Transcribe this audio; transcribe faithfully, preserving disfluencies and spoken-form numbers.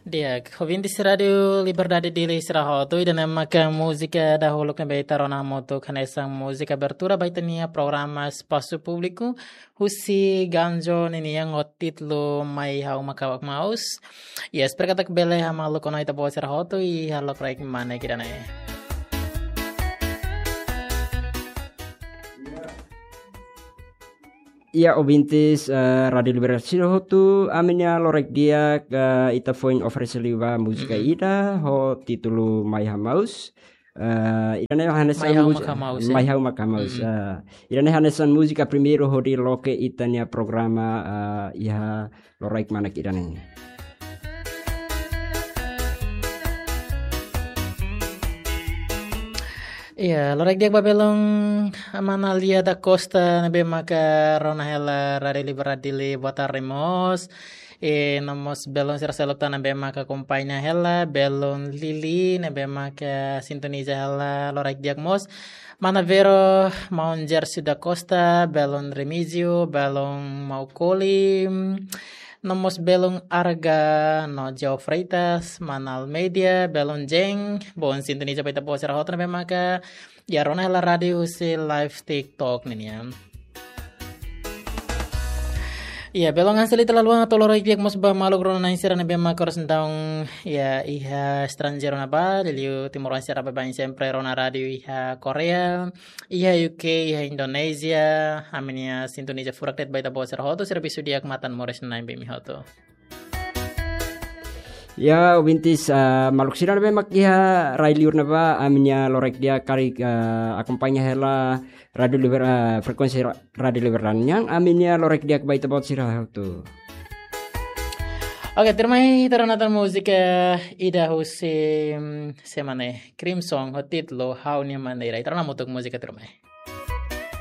Di'ak, ouvintes Rádiu Liberdade Dili sira hotu, ida-ne'e maka múzika dahuluk ne'ebé ita rona hamutuk hanesan múzika abertura ba ita-nia programa Espasu Públiku husi Ganjo ninian ho títulu Mai Ha'u Mak Ha'u Maus. Ya, espera katak bele hamaluk ona ita-boot sira hotu iha lokraik mane ida-ne'e. Ya, ouvintes, eh, Rádiu Liberdade sira hotu, ami-nia lokraik di'ak, eh, ita foin oferese liu ba múzika Mm-mm. ida ho títulu Mai Ha'u Maus. Eh, ida-ne'e hanesan Mai Ha'u múzi-, Mak Ha'u Maus, eh? Mai Ha'u Mak Ha'u Maus, Mm-mm. eh, ida-ne'e hanesan múzika primeiru hodi loke ita-nia programa, eh, iha lokraik mane ida-ne'e. Iya, lokraik di'ak ba belun Mana Lia da Costa ne'ebé maka rona hela Rádiu Liberdade Dili, boa tarde mós. I no mós belun sira seluk tan ne'ebé maka akompaña hela, belun Lili ne'ebé maka sintoniza hela lokraik di'ak mós. Mana Vero, maun Gersi da Costa, belun Remígio, belun Maukoli, no mós belun Arga, no João Freitas, Mana Almeida, belun Jeng, boon sintoniza ba ita-boot sira hotu ne'ebé maka ya rona hela rádiu husi live TikTok ninian. Ya, belun Anselita Laluan, hato'o lokraik di'ak mós ba maluk rona-na'in sira ne'ebé maka oras ne'e daudaun, ya, iha estranjeiru ne'ebá, liuliu timoroan sira baibain sempre rona rádiu iha Korea, iha U K, iha Indonézia, ami-nia sintoniza furak de'it ba ita-boot sira hotu, servisu di'ak matan moris na'in ba imi hotu. Ya, ouvintes, ah, maluk sira ne'ebé mak iha rai liur ne'ebá, ami-nia lokraik di'ak karik, ah, akompaña hela Rádiu Liber-, ah, frekuénsia ra-, Rádiu Liberdade nian, ami-nia lokraik di'ak ba ita-boot sira hotu. Oke, tuirmai ita rona tan múzika ida husi, mm, sé mak ne'e, Crimson, ho títulu Ha'u-nia Maneira. Ita rona hamutuk múzika tuirmai.